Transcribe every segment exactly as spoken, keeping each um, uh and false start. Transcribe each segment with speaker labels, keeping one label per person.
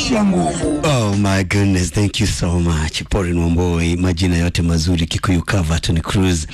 Speaker 1: Cia nguvu.
Speaker 2: Oh my goodness, thank you so much. Pauline Wamboi, majina yote mazuri Kikuyu cover, Tony Cruz,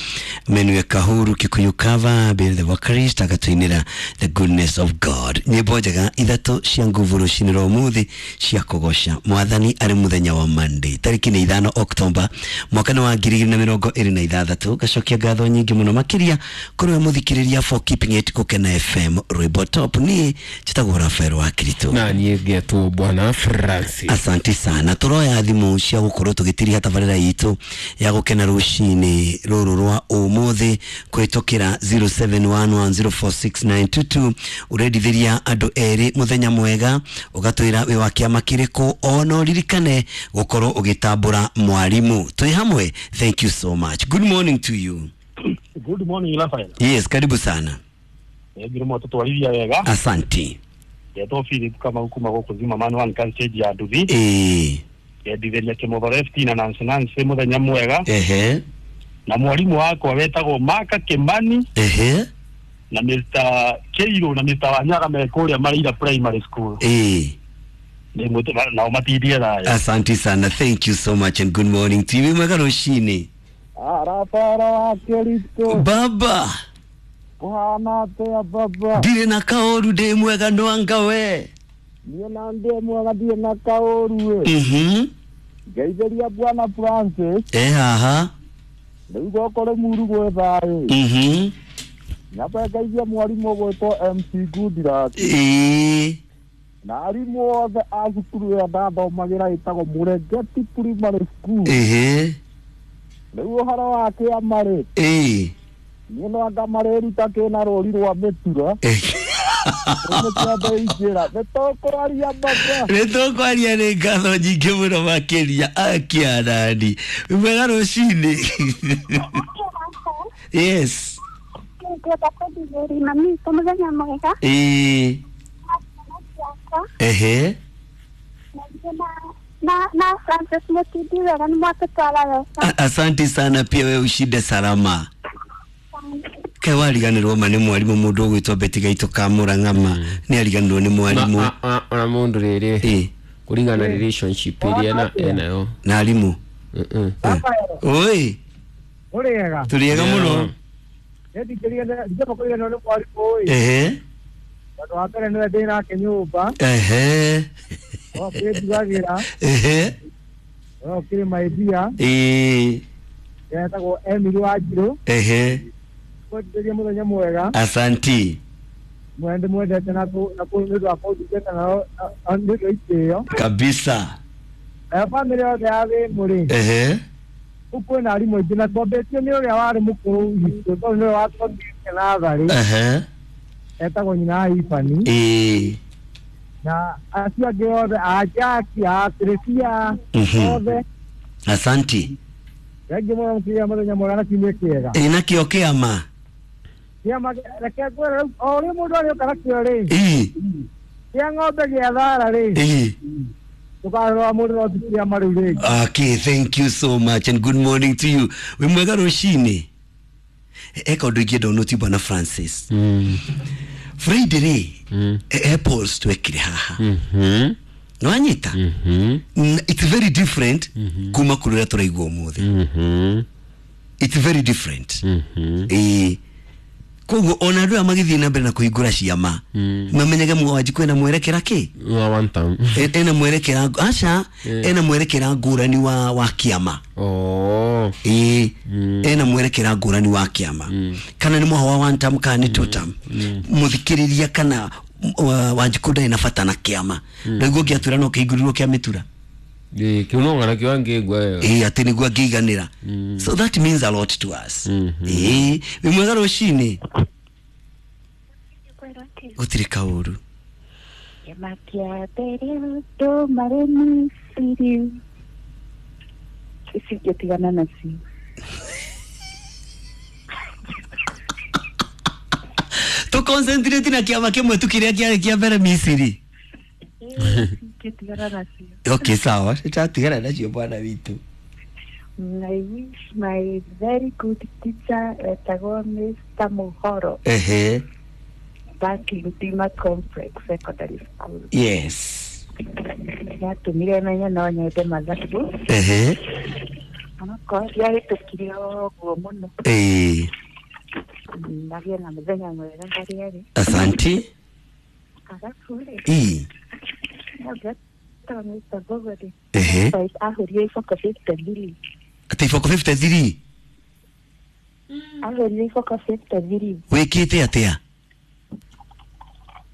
Speaker 2: Menu Kahuru Kikuyu cover, Bill the Vocalist agatuinira The Goodness of God. Nyimbo njega ithatu cia nguvu rucini rwa umuthi cia kugocca mwathani ari muthenya wa Monday tariki ni ithano October mwaka wa ngiri igĩrĩ na mĩrongo ĩrĩ na ithathatũ. Gacokia ngatho nyingĩ mũno makĩria kũrĩ we mũthikĩrĩria for keeping it Gũkena F M rwĩmbo top. Niĩ njĩtagwo Rafael wa Kirito
Speaker 3: na niĩ ngetwo Bwana Francis.
Speaker 2: Asante sana. Turoya thimu cia gukorwo tugitiriha tabarĩra itũ ya gukena rucini ruru rwa umuthi kwitukira zero seven one one zero four six nine two two. Urendithiria andu eri muthenya mwega ugatwira wi wa kiama kiriku ona uririkane gukorwo ugitambura mwarimu twi hamwe. Thank you so much. Good morning to you.
Speaker 4: Good morning Rafael.
Speaker 2: Yes, karibu sana.
Speaker 4: Ngirimo tutwarithia wega.
Speaker 2: Asante.
Speaker 4: Yetwo Philip kama huku magoko zima manual kan stage ya nduthi.
Speaker 2: Eh.
Speaker 4: Yendithiria Kimotho F T na Nancy Nancy muthenya mwega.
Speaker 2: Ehe.
Speaker 4: Na mwarimu wakwa wetagwo Maka Kimani.
Speaker 2: Ehe.
Speaker 4: Na Mister Keiro na Mister Wanyaga me kuria Maria Primary School.
Speaker 2: Eh.
Speaker 4: Ni mutu na umatindie thayo.
Speaker 2: Asante sana. Thank you so much and good morning to you. Mwega rucini.
Speaker 5: Arafara wa Kirito.
Speaker 2: Baba.
Speaker 5: Kuhana atia baba.
Speaker 2: Ndirĩ na kaũru, ndĩ mwega no anga we.
Speaker 5: Niĩ na ndĩ mwega ndirĩ na kaũru ĩ.
Speaker 2: Mhm.
Speaker 5: Ngeithĩria Bwana Francis.
Speaker 2: Eh haha.
Speaker 5: Rĩu gũkũ Rĩmuru gwĩ thayũ.
Speaker 2: Mhm.
Speaker 5: Nyambe ngeithie mwarimũ ũgwĩtwo M C Goodluck.
Speaker 2: Ĩĩ.
Speaker 5: Na arimũ othe a cukuru ĩrĩa ndathomagĩra ĩtagwo Mũrengeti Primary School.
Speaker 2: Ehe.
Speaker 5: Rĩu ũhoro wa kĩama rĩ.
Speaker 2: Ĩĩ.
Speaker 5: Niĩ no anga marĩruta kĩna rũri rwa mĩtura. Nĩtũkwaria baba.
Speaker 2: Nĩtũkwaria nĩ ngatho nyingĩ mũno makĩria akiarani. Mwega rũcinĩ. Yes.
Speaker 6: Ngwenda kũthithĩria mami witũ mũthenya mwega.
Speaker 2: Ĩĩ. Ehe.
Speaker 6: Na na Francis Mutindi wega nĩ mwatũtwara wega.
Speaker 2: Asante sana, pia wewe ushinde salama. Kai wariganirwo ma nĩ mwarimu mũndũ ũgwĩtwo Betty Gaitũ Kamũra Ng'ama nĩ ariganirwo nĩ mwarimu
Speaker 3: ona mũndũ rĩrĩ kũringana na relationship ĩrĩa ena enayo
Speaker 2: na arimũ. Oi
Speaker 5: ũrĩega
Speaker 2: tũrĩega mũno.
Speaker 5: Ndĩkĩria nĩ mwarimu ĩ.
Speaker 2: Ehe.
Speaker 5: Tondũ wa mbere nĩwe ndĩ nake nyũmba.
Speaker 2: Ehe.
Speaker 5: O kĩndugagĩra.
Speaker 2: Ehe.
Speaker 5: O kĩrĩ maimbia.
Speaker 2: Ĩĩ.
Speaker 5: Etagwo Emily Wanjirũ.
Speaker 2: Ehe.
Speaker 5: Kwendithĩria mũthenya mwega.
Speaker 2: Asanti.
Speaker 5: Mwende mwendete na kũ na kũ nĩ ũndũ wa kũndungata nao nĩ ũndũ wa itĩo.
Speaker 2: Kabisa.
Speaker 5: Nayo bamĩrĩ yothe ya Thĩmũ rĩ.
Speaker 2: Ehe.
Speaker 5: Kũu kwĩna arimũ aingĩ na twambĩtio nĩ ũrĩa warĩ mũkũrũ witũ tondũ nĩwe watwambĩtie natharĩ.
Speaker 2: Ehe.
Speaker 5: Etagwo nyina wa Ibani.
Speaker 2: Ĩĩ.
Speaker 5: Na acio angĩ othe a Jaki a Teresia othe.
Speaker 2: Asanti.
Speaker 5: Thengiũ mũno mũkĩgĩa mũthenya mwega na kiumia kĩega.
Speaker 2: Ĩ nakĩo kĩama.
Speaker 5: Kĩama reke ngwĩre rĩu o ũrĩa mũndũ arĩũka nakĩo rĩ.
Speaker 2: Ĩĩ.
Speaker 5: Kĩa ng'ombe gĩa thara rĩ.
Speaker 2: Ĩĩ.
Speaker 5: Tũkarora mũndũ no ti kĩama rĩu rĩngĩ.
Speaker 2: Okay, thank you so much and good morning to you. Wĩ mwega rũcinĩ. Eka ũndũ ingĩenda ũnũti Bwana Francis. Friday rĩ, apples twekire haha. Nĩwanyita? It's very different kuma kũrĩ ũrĩa tũraigua ũmũthĩ. It's very different. Ĩĩ. Koguo ona andũ aya magĩthiĩ na mbere na kũhingũra ciama mamenyage Mwanjikũ ena mwerekera kĩ?
Speaker 3: Wa one time.
Speaker 2: Ena mwerekera aca ena mwerekera ngũrani wa wa kĩama.
Speaker 3: Oh.
Speaker 2: Ĩĩ. Ena mwerekera ngũrani wa kĩama. Kana nĩ mwaha wa one term kana nĩ two term. Mũthikĩrĩria kana Wanjikũ ndarĩ na bata na kĩama. Nĩguo ngĩatwĩra no kĩhingũrirwo kĩa mĩtura.
Speaker 3: Ĩĩ, kĩu no ng'ana kĩo angĩigua wega.
Speaker 2: Ĩĩ, atĩ nĩguo angĩiganĩra. So that means a lot to us. Ĩĩ, wĩ mwega rũcinĩ. Gũtirĩ kaũru.
Speaker 6: Kĩama kĩa mbere andũ marĩ Misiri. Ici ingĩtigana nacio.
Speaker 2: Tũ concentrate na kĩama kĩmwe tu kĩrĩa kĩarĩ kĩa mbere Misiri.
Speaker 6: Ingĩtigana nacio.
Speaker 2: Okay, sawa. Tũtatigana nacio bwana witũ.
Speaker 6: I wish my very good teacher etagwo Mister Muhoro.
Speaker 2: Ehe.
Speaker 6: Back in Dima Complex Secondary School.
Speaker 2: Yes.
Speaker 6: Nĩatũmire menye no nyende mathabu.
Speaker 2: Ehe.
Speaker 6: Onakorwo ndiahĩtũkire ũguo mũno.
Speaker 2: Ĩĩ.
Speaker 6: Magĩe na mũthenya mwega harĩa arĩ.
Speaker 2: Asanti.
Speaker 6: Arabu rĩ.
Speaker 2: Ĩĩ.
Speaker 6: Tondũ Mister Mbũgua-rĩ.
Speaker 2: Ehe.
Speaker 6: Ahũrire iboko fifty three.
Speaker 2: Atĩ iboko fifty three?
Speaker 6: Ahũrire iboko fifty three.
Speaker 2: Wĩkĩte atĩa?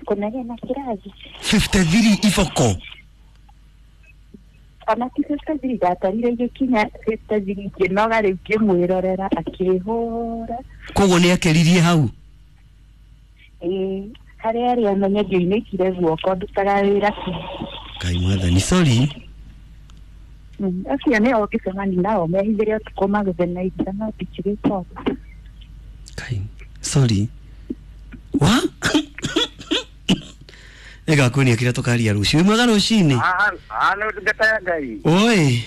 Speaker 6: Kũnegena kĩrathi.
Speaker 2: fifty three iboko?
Speaker 6: Ona ti fifty three, ndatarire igĩkinya fifty three ngĩnoga rĩu ngĩmwĩrorera akĩhũra.
Speaker 2: Koguo nĩ akeririe hau?
Speaker 6: Ĩĩ, harĩa arĩ amenye ngĩunĩkire guoko ndutaga wĩra ki.
Speaker 2: Ngai mwathani, sorry.
Speaker 6: Acio nĩo ũngĩcemania nao mehithĩre ũtukũ magũthe na iria no ndikĩrĩte ũguo.
Speaker 2: Ngai, sorry. Wa? Nĩngakuonia kĩrĩa tũkaria rũciũ. Wĩ mwega rũcinĩ?
Speaker 1: Ah, nĩ ndungata ya Ngai.
Speaker 2: Oi.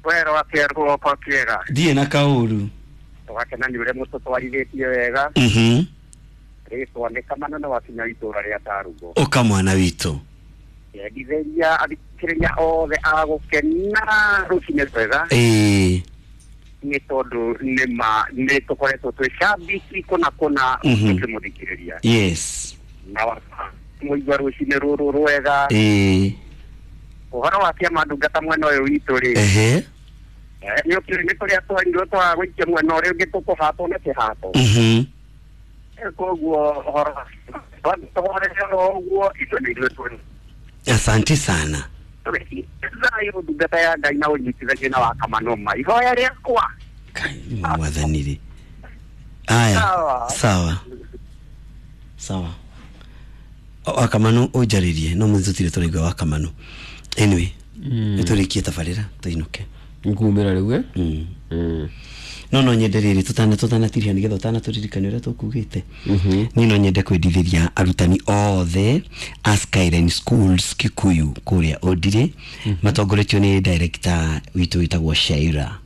Speaker 1: Wero atĩa rũoko kĩega?
Speaker 2: Ndirĩ na kaũru.
Speaker 1: Tũgakena nĩ ũrĩa mũtũtwarithĩtie wega.
Speaker 2: Mhm.
Speaker 1: Rĩtwa nĩ Kamano na wakinya itũũra rĩa Tarugo.
Speaker 2: Ũka mwana witũ.
Speaker 1: Endithĩria athikĩrĩria othe a gũkena rũcinĩ rwega.
Speaker 2: Ĩĩ.
Speaker 1: Nĩ tondũ nĩ ma nĩ tũkoretwo twĩ shabiki kũna kũna tũkĩmũthikĩrĩria.
Speaker 2: Yes.
Speaker 1: Na mũigua rũcinĩ rũrũ rwega.
Speaker 2: Ĩĩ.
Speaker 1: Ũhoro wa kĩama ndungata mwena ũyũ witũ rĩ.
Speaker 2: Ehe.
Speaker 1: Nĩ ũkĩũĩ nĩ kũrĩa twarirwo twaga gũikia mwena ũrĩa ũngĩ tũkũhatwo na kĩhato.
Speaker 2: Mhm.
Speaker 1: Koguo ũhoro tũhorere oro ũguo ithuĩ nĩ ithuĩ twĩ.
Speaker 2: Asante sana.
Speaker 1: Thayũ ndungata ya Ngai na ũnyitithanie na wa Kamanoma. Ihoya rĩakwa.
Speaker 2: Kai mwathani rĩ. Aya. Sawa. Sawa. Wakamanu ũnjarĩrie no mũthĩ tũtirĩ tũraigua Wakamanu. Anyway, nĩtũrĩkie tabarĩra tũinũke.
Speaker 3: Ngumĩra rĩu eh?
Speaker 2: Mm. No no nyende rĩrĩ tũtana tũtanatiria nĩgetha ũtanatũririkania ũrĩa tũkugĩte. Niĩ no nyende kwendithĩria arutani othe a Skyline Schools Kikuyu kũrĩa Ũndirĩ matongoretio nĩ director witũ wĩtagwo Shaira.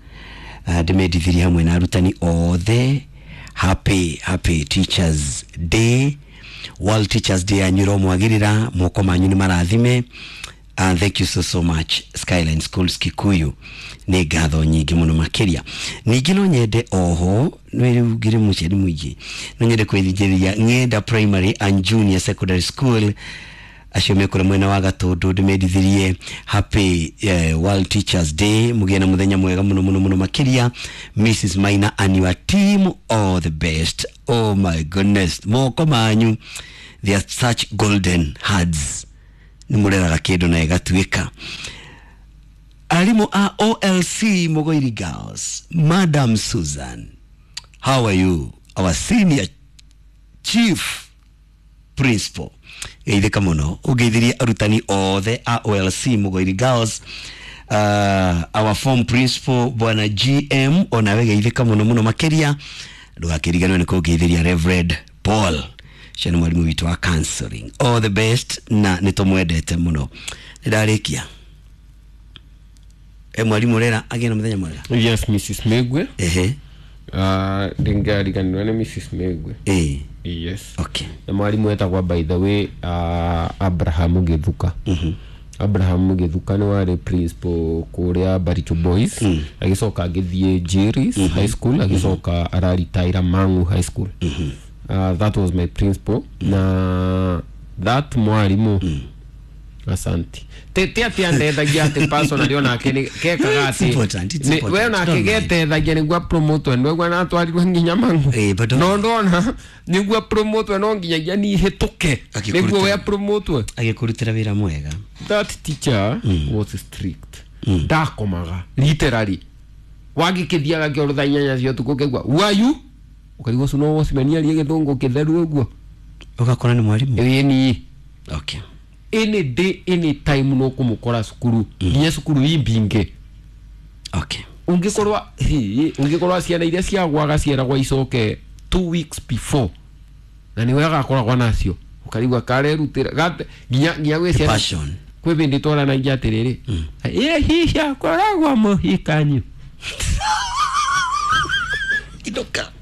Speaker 2: Ndĩmendithĩrie hamwe na arutani othe happy happy Teachers Day. World Teachers Day yanyu ĩromwagĩrĩra, moko manyu nĩ marathime. Uh, thank you so so much Skyline Schools Kikuyu. Nĩ ngatho nyingĩ mũno makĩria. Ningĩ no nyende oho nĩ rĩu ngĩrĩ mũciari mũingĩ, no nyende kwĩthikĩrĩria Ng'enda Primary and Junior Secondary School acio mekũrĩa mwena wa Gatũndũ, ndĩmendithĩrie happy uh, World Teachers Day. Mũgĩe na mũthenya mwega mũno mũno mũno makĩria. Missus Maina and your team, all the best. Oh my goodness, moko manyu, they are such golden hearts. Nĩ mũreraga kĩndũ na ĩgatuĩka. Arimũ a O L C Mugoiri Girls, Madam Susan, how are you? Our senior chief principal. Geithĩka mũno ũngeithirie arutani othe a O L C Mugoiri Girls. Uh, our form principal Bwana G M, onawe geithĩka mũno mũno makĩria. Ndũgakĩriganĩrwo nĩ kũngeithĩria Reverend Paul, ũcio nĩ mwarimũ witũ wa counseling. All the best na nĩ tũmwendete mũno. Nĩ ndarĩkia. E mwalimu rera agĩe na mũthenya mwega.
Speaker 3: Yes, Missus Megwe.
Speaker 2: Ehe.
Speaker 3: Ah, ndingariganĩrwo nĩ Missus Megwe.
Speaker 2: Eh.
Speaker 3: Yes.
Speaker 2: Okay.
Speaker 3: Na mwalimu etagwo by the way uh, Abraham Githuka.
Speaker 2: Mhm.
Speaker 3: Abraham Githuka nĩ warĩ principal kũrĩa Baricho Boys.
Speaker 2: Mm.
Speaker 3: Agĩcoka agĩthiĩ Jerry's
Speaker 2: mm -hmm.
Speaker 3: High School, agĩcoka mm -hmm. araritaira Mangu High School.
Speaker 2: Mm -hmm.
Speaker 3: Uh, that was my principal. Mm. Na that mwalimu
Speaker 2: mm.
Speaker 3: Asante. Te te ati andethagia ati personally onake ni kekaga ati we onake getethagia niguo promote niguo na twarirwo nginya Mangu. No ndona niguo promote no nginyagia ni hituke niguo we promote.
Speaker 2: Agĩkũrutĩra wĩra mwega.
Speaker 3: That teacher mm. was strict. Ndakomaga literally. Wagĩkĩthiaga kĩoro thaa inyanya cia ũtukũ ũkaigua who are you? Ũkaigua ũcio no wocimania arie gĩthũngũ kĩtheru ũguo.
Speaker 2: Ũgakora nĩ mwarimũ.
Speaker 3: Ĩni.
Speaker 2: Okay.
Speaker 3: Any day any time no kumukora cukuru nginya cukuru imbinge.
Speaker 2: Okay.
Speaker 3: Ungikorwa hi ungikorwa ciana iria ciagwaga ciaragwa icoke two weeks before na niwe agakoragwa nacio ukarigwa karerutira nginya nginya gwĩ ciana
Speaker 2: passion
Speaker 3: kwĩ bindi twaranagia atiriri ĩ hihi akoragwa mũhikanyu
Speaker 2: Idoka.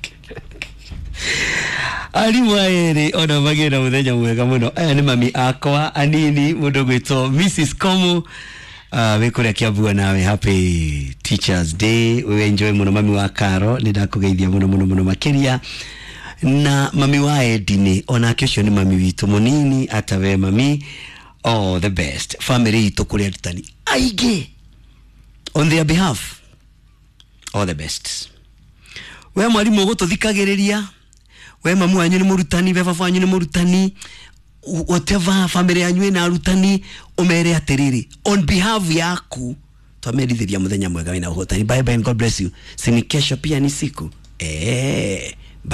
Speaker 2: Arimũ aya erĩ ona magĩe na mũthenya mwega mũno. Aya nĩ mami akwa anini, mũndũ gwĩtwo Missus Komu, uh, wĩ kũrĩa Kiambu, nawe happy Teachers Day. We enjoy mũno. Mami wa Karo, nĩ ndakũgeithia mũno mũno mũno makĩria, na mami wa Edini onake ũcio nĩ mami witũ mũnini. Atawe mami, all the best. Family itũ kũrĩ arutani aingĩ, on their behalf, all the best. We mwarimũ ũgũtũthikagĩrĩria, we mamu wanyu nĩ mũrutani, we baba wanyu nĩ mũrutani, whatever family yanyu ĩna arutani, ũmere atĩrĩrĩ, on behalf yaku twamerithĩria mũthenya mwega wĩna ũhotani. Bye bye and God bless you. Sini kesho pia ni siku eh.